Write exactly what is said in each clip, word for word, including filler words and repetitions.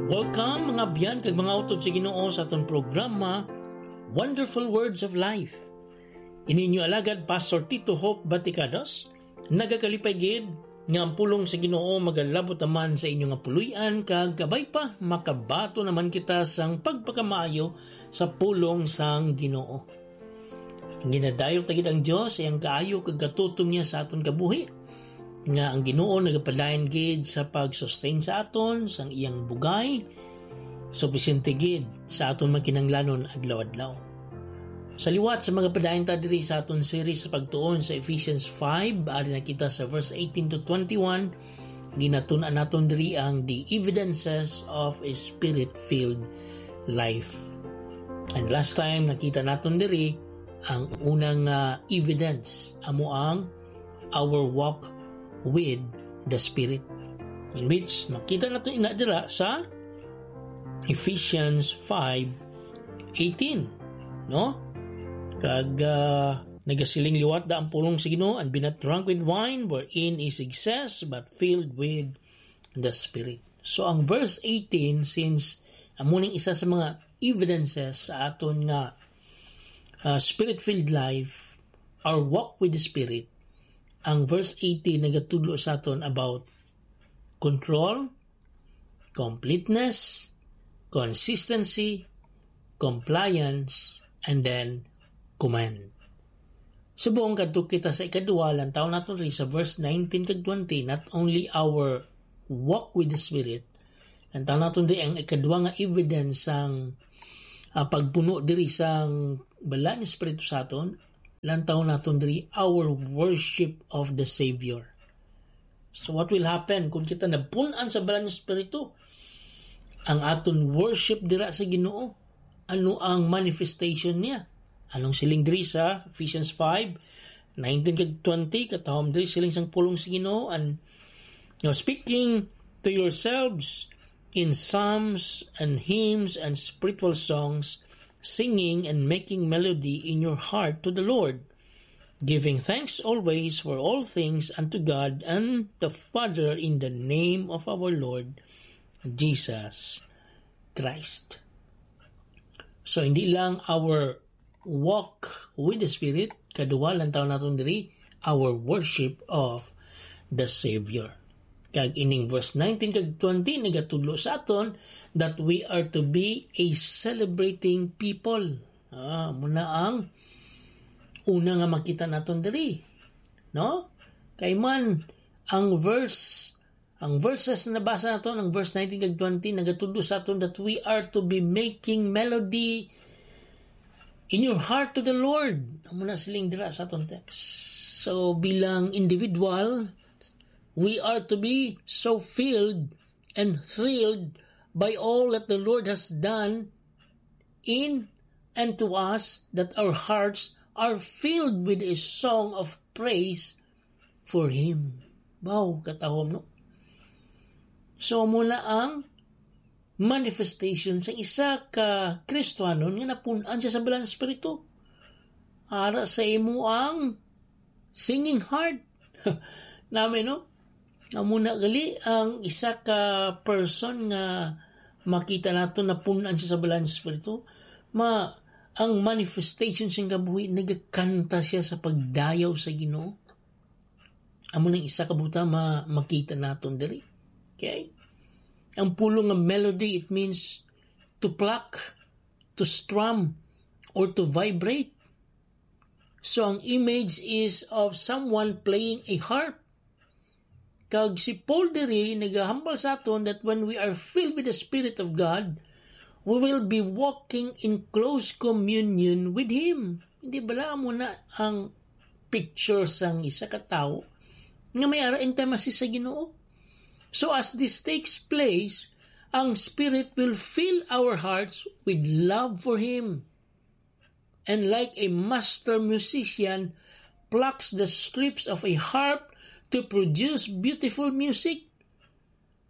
Welcome, mga abyan kag mga utod sa Ginoo, sa aton programa, Wonderful Words of Life. Ini inyo alagad, Pastor Tito Hope Baticados, nagakalipay gid nga ang pulong sa Ginoo magalabot naman sa inyo nga puloy-an, kag kabay pa, makabaton naman kita sang pagpakamaayo sa pulong sang Ginoo. Ginadayo ta gid ang Dios sa iyang kaayo kag katutom niya sa aton kabuhi, nga ang Ginoo nagapadayon gid sa pag-sustain sa aton sang iyang bugay, supisyente gid sa aton mga kinahanglanon adlaw-adlaw. Sa liwat sa magapadayon ta diri sa aton series sa pagtuon sa Ephesians five, ari na kita sa verse eighteen to twenty-one, ginatun-an naton diri ang the evidences of a spirit-filled life. And last time, nakita naton diri ang unang, ah, evidence, amo ang our walk with the Spirit, in which makita nato ina dira sa Ephesians five eighteen, no? Kag, ah, nagasiling liwat da ang pulong sa Ginoo, "And be not drunk with wine, wherein is excess, but filled with the Spirit." So, ang verse eighteen, since amo ning isa sa mga evidences sa aton nga, ah, spirit-filled life, our walk with the Spirit, ang verse eighteen nagatudlo sa aton about control, completeness, consistency, compliance, and then command. Subong kadto kita sa ikadua, lantaw naton rin sa verse nineteen kag twenty, not only our walk with the Spirit, lantaw naton rin ang ikadua nga evidence sang, ah, pagpuno diri sang Balaan nga Espiritu sa aton, lantaw naton diri our worship of the Savior. So what will happen kung kita nabun-an sa Balaan nga Espiritu? Ang aton worship dira sa Ginoo, ano ang manifestation niya? Anong siling diri sa Ephesians five nineteen kag twenty, katahom diri siling sang pulong sa Ginoo, and, you know, speaking to yourselves in psalms and hymns and spiritual songs, singing and making melody in your heart to the Lord, giving thanks always for all things unto God and the Father in the name of our Lord Jesus Christ. So, hindi lang our walk with the Spirit, kadua, lantaw naton diri, our worship of the Savior. Kag ining verse nineteen kag twenty nagatudlo sa aton that we are to be a celebrating people. Ah, muna ang una nga makita naton diri, no? Kay man, ang verse, ang verses na nabasa naton, ang verse nineteen kag twenty, nagatudlo sa aton that we are to be making melody in your heart to the Lord. Amo na siling dira sa aton text. So, bilang individual, we are to be so filled and thrilled by all that the Lord has done in and to us that our hearts are filled with a song of praise for Him. Wow, katahom, no? So, amo na ang manifestation sa isa ka Kristiyanon nga napun-an siya sa Balaan Espiritu. Ara sa imo ang singing heart. Nami, no? Amo na gali ang isa ka person nga makita nato napun-an siya sa Balaan Espiritu. Ma, ang manifestation siyang kabuhi, nagakanta siya sa pagdayaw sa Ginoo. Amo nang isa ka butang ma-, makita naton diri. Okay? Ang pulong nga melody, it means to pluck, to strum, or to vibrate. So, ang image is of someone playing a harp. Kag si Paul diri nagahambal sa aton that when we are filled with the Spirit of God, we will be walking in close communion with Him. Hindi bala amo na ang picture sang isa ka tawo nga may ara intimacy sa Ginoo? So as this takes place, ang Spirit will fill our hearts with love for Him. And like a master musician plucks the strings of a harp to produce beautiful music,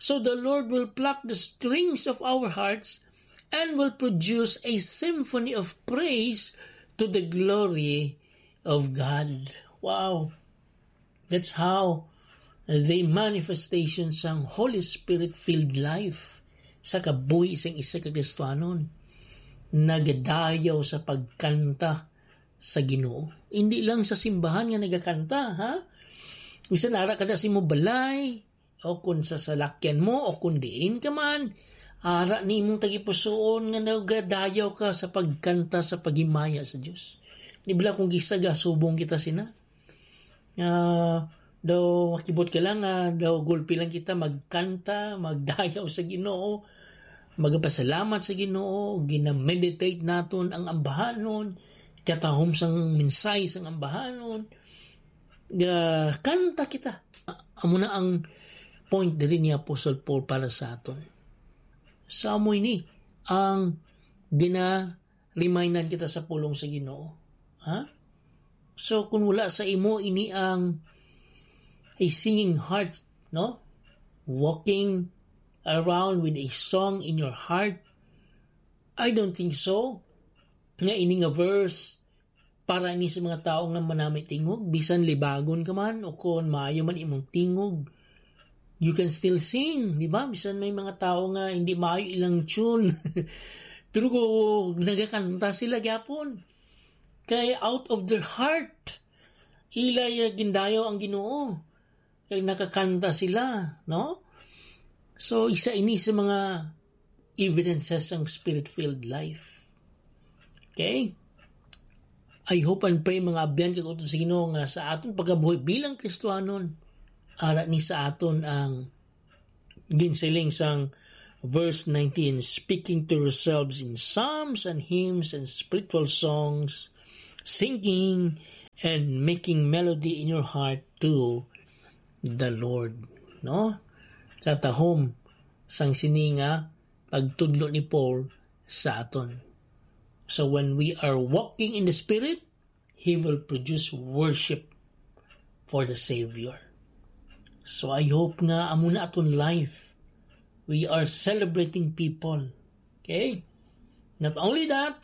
so the Lord will pluck the strings of our hearts and will produce a symphony of praise to the glory of God. Wow! That's how the manifestation sang Holy Spirit-filled life sa kabuhi sang isa ka Kristiyanon, nagadayaw sa pagkanta sa Ginoo. Hindi lang sa simbahan nga nagakanta, ha? Bisan ara ka na sa imong balay, o kung sa salakyan mo, o kung diin ka man, ara ni imong tagipusoon nga nagadayaw ka sa pagkanta sa paghimaya sa Dios. Di ba kung kis-a gasubong kita sina? Ah, daw makibot ka lang nga daw gulpi lang kita magkanta, magdayaw sa Ginoo, magpasalamat sa Ginoo, ginameditate naton ang ambahanon, katahom sang mensahe sang ambahanon, ga kanta kita. Amo na ang point diri ni Apostle Paul para sa aton. So, amo ini ang gina-remindan kita sa pulong sa Ginoo. Ha? So, kung wala sa imo ini ang a singing heart, no? Walking around with a song in your heart, I don't think so. Nga ini nga verse para ni sa mga tawo nga manami tingog, bisan libagon ka man o kung maayo man imong tingog, you can still sing, di ba? Bisan may mga tawo nga hindi maayo ilang tune. Pero kung nagakanta sila gyapon, kay out of their heart, ila ya gindayaw ang Ginoo. Kay nakakanta sila, no? So, isa ini sa mga evidences sang spirit-filled life. Okay? I hope and pray, mga abyan kag utod sa Ginoo, nga sa aton pagkabuhi bilang Kristiyanon, ara ni sa aton ang ginsiling sang verse nineteen, "Speaking to yourselves in psalms and hymns and spiritual songs, singing and making melody in your heart to the Lord." No? Sa tahom sang sini nga pagtudlo ni Paul sa aton. So when we are walking in the Spirit, He will produce worship for the Savior. So I hope nga amo na aton life. We are celebrating people. Okay? Not only that,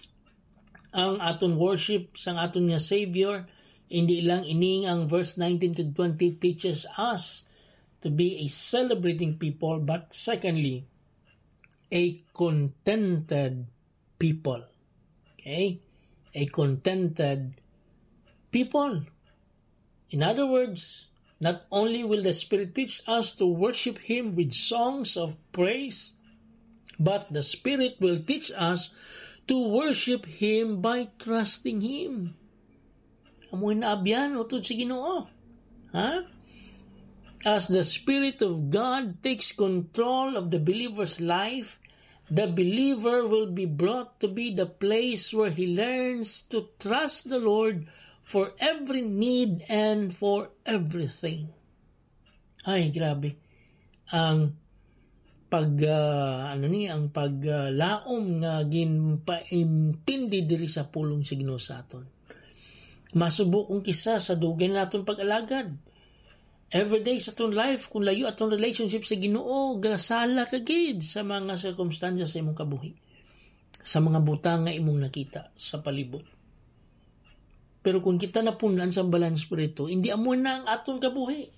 ang aton worship sang aton nga Savior, hindi lang ining ang verse nineteen to twenty teaches us to be a celebrating people, but secondly, a contented people. Okay? A contented people. In other words, not only will the Spirit teach us to worship Him with songs of praise, but the Spirit will teach us to worship Him by trusting Him. Amo na abyan, utod sa Ginoo. Ha? As the Spirit of God takes control of the believer's life, the believer will be brought to be the place where he learns to trust the Lord for every need and for everything. Ay, grabe. Ang pag, ah, ano ni, ang pag, ah, laom nga ginpaintindi diri sa pulong sa Ginoo sa aton. Masubo kung kis-a sa dugay naton pag-alagad. Everyday sa aton life, kung layo aton relationship sa Ginoo, gasala ka gid sa mga sirkumstansya sa imong kabuhi, sa mga butang nga imong nakita sa palibot. Pero kung kita napun-an sa Balaan Espiritu, hindi amo na ang aton kabuhi.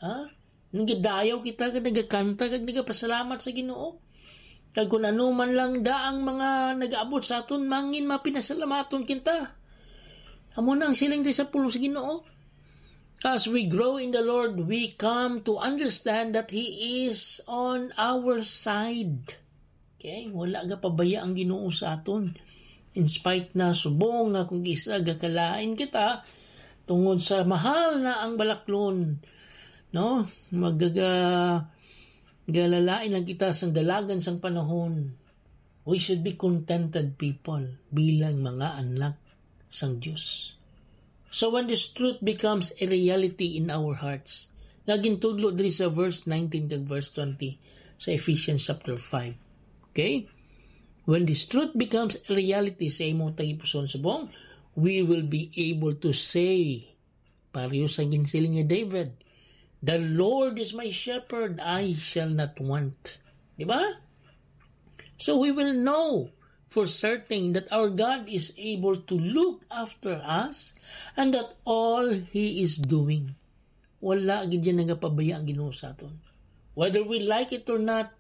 Ha? Nagadayaw kita, kag nagakanta, kag nagapasalamat sa Ginoo. Kag kung ano man lang da ang mga nagaabot sa aton, mangin mapinasalamaton kita. Amo na ang siling di sa pulong sa Ginoo. As we grow in the Lord, we come to understand that He is on our side. Okay? Wala gapabaya ang Ginoo sa aton. In spite na subong nga kung kis-a gakalain kita, tungod sa mahal na ang balaklon, no? Magaga-, galalain lang kita sang dalagan sang panahon. We should be contented people bilang mga anak sang Dios. So when this truth becomes a reality in our hearts, nga gintudlo diri sa verse nineteen kag verse twenty sa Ephesians chapter five. Okay? When this truth becomes a reality sa imong tagipusoon subong, we will be able to say, pareho sa ginsiling ni David, "The Lord is my shepherd, I shall not want." Di ba? So we will know for certain that our God is able to look after us and that all He is doing. Wala gid yan nagapabaya ang Ginoo sa aton. Whether we like it or not,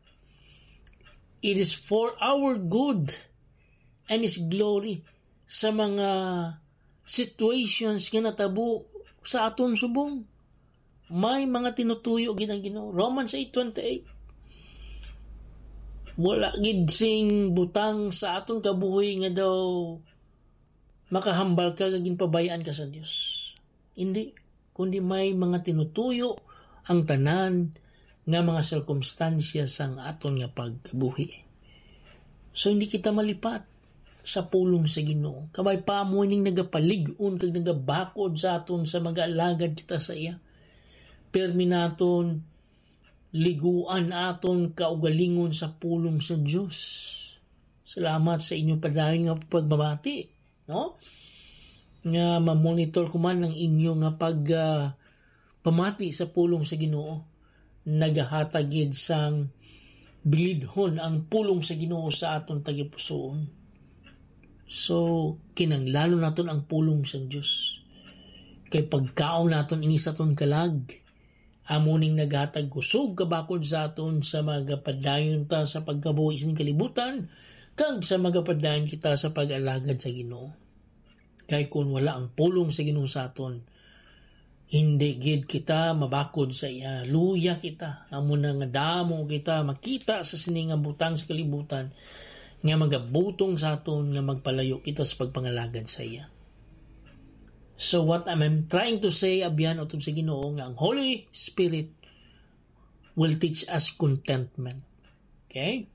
It is for our good and His glory sa mga situations nga natabo sa aton subong. May mga tinutuyo gid ang Ginoo. Romans eight twenty-eight. Wala gid sing butang sa aton kabuhi nga daw makahambal ka nga ginpabayaan ka sa Dios. Hindi, kundi may mga tinutuyo ang tanan nga mga sirkumstansya sang aton nga pagkabuhi. So, hindi kita malipat sa pulong sa Ginoo. Kabay pa mo ning nagapalig-on kag nagabakod sa aton sa mag-alagad kita sa iya. Permi naton liguan aton kaugalingon sa pulong sa Dios. Salamat sa inyo padayon nga pagmamati, no? Nga mamonitor ko man ang inyo nga pag, ah, pamati sa pulong sa Ginoo. Nagahatag gid sang bilidhon ang pulong sa Ginoo sa aton tagipusoon. So, kinahanglanon naton ang pulong sa Dios. Kay pagkaon naton ini sa aton kalag, amo ning naghatag kusog kabakod sa aton sa magapadayon ta sa pagkabuhi sing kalibutan, kag sa magapadayon kita sa pag-alagad sa Ginoo. Kay kun wala ang pulong sa Ginoo sa aton, hindi gid kita mabakod sa iya. Luya kita. Amo na nga damo kita makita sa sini nga butang sa kalibutan nga magabutong sa aton nga magpalayo kita sa pagpangalagad sa iya. So what I'm, I'm trying to say, abyan, utod sa Ginoo, nga ang Holy Spirit will teach us contentment. Okay?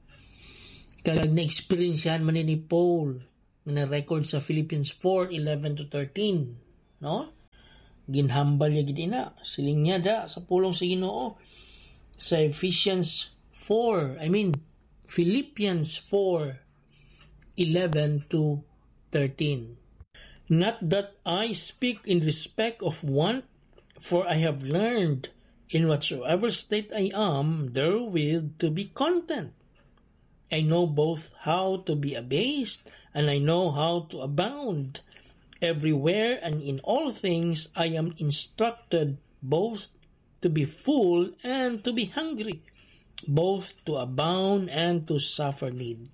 Kag na-experiencehan man ni Paul nga na-record sa Philippians four eleven to thirteen, no? Ginhambal niya gid ina. Siling niya da sa pulong sa Ginoo sa Ephesians four, I mean, Philippians four eleven to thirteen. Not that I speak in respect of want, for I have learned in whatsoever state I am therewith to be content. I know both how to be abased, and I know how to abound. Everywhere and in all things I am instructed both to be full and to be hungry, both to abound and to suffer need.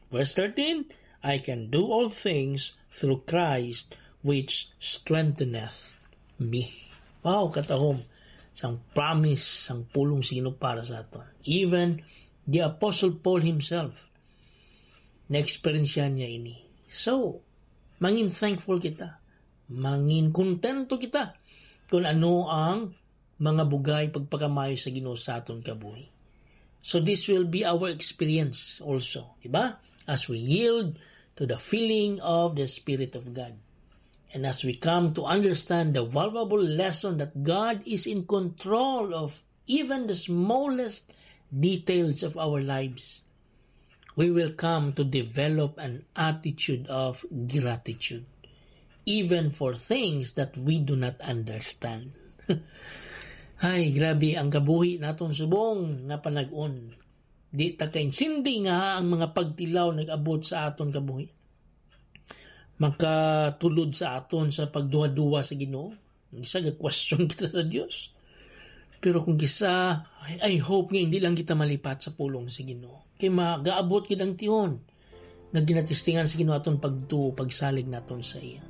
Verse thirteen, "I can do all things through Christ which strengtheneth me." Wow, katahom sang promise, sang pulong sa Ginoo para sa aton. Even the Apostle Paul himself, na-experience niya ini. So, mangin thankful kita. Mangin kontento kita kung ano ang mga bugay pagpakamaayo sa Ginoo sa aton kabuhi. So this will be our experience also, di ba? As we yield to the filling of the Spirit of God. And as we come to understand the valuable lesson that God is in control of even the smallest details of our lives, we will come to develop an attitude of gratitude, even for things that we do not understand. Ay, grabe ang kabuhi naton subong nga panag-on. Di ta kaintindi nga ang mga pagtilaw nag-abot sa aton kabuhi. Makatulod sa aton sa pagduha-duha sa Ginoo. Ang isa, ga-question kita sa Dios. Pero kung kisa, I, I hope nga hindi lang kita malipat sa pulong sa Ginoo. Kay magaabot gid ang tihon nga ginatistingan sa Ginoo aton pagtuo, pagsalig naton sa iya.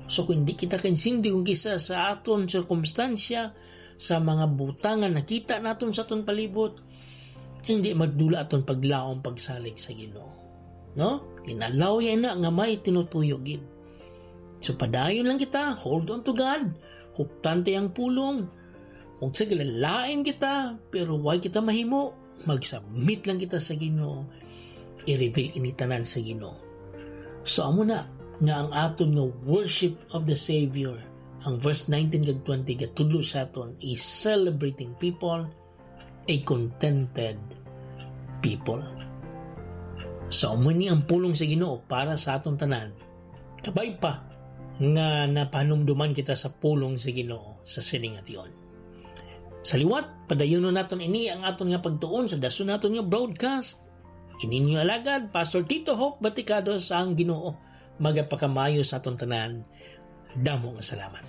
So kung hindi kita kaintindi kung kisa sa aton sirkumstansya, sa mga butang nga nakita naton sa aton palibot, hindi magdula aton paglaom pagsalig sa Ginoo. No? Ginalaw niya na nga may tinutuyo gid. So padayon lang kita, hold on to God, huptan ta ang pulong. Kung sa lain kita, pero way kita mahimo, mag-submit lang kita sa Ginoo. I-reveal ini tanan sa Ginoo. So amo na nga ang aton nga worship of the Savior, ang verse nineteen kag twenty gatudlo sa aton, a celebrating people, a contented people. So amo ni ang pulong sa Ginoo para sa aton tanan. Kabay pa nga napanumduman kita sa pulong sa Ginoo sa sining ation. Sa liwat, padayunon naton ini ang aton nga pagtuon sa dason naton nga broadcast. Ini ninyo alagad, Pastor Tito Hope Baticado, sa ang Ginoo magapakamayo sa aton tanan. Damo nga salamat.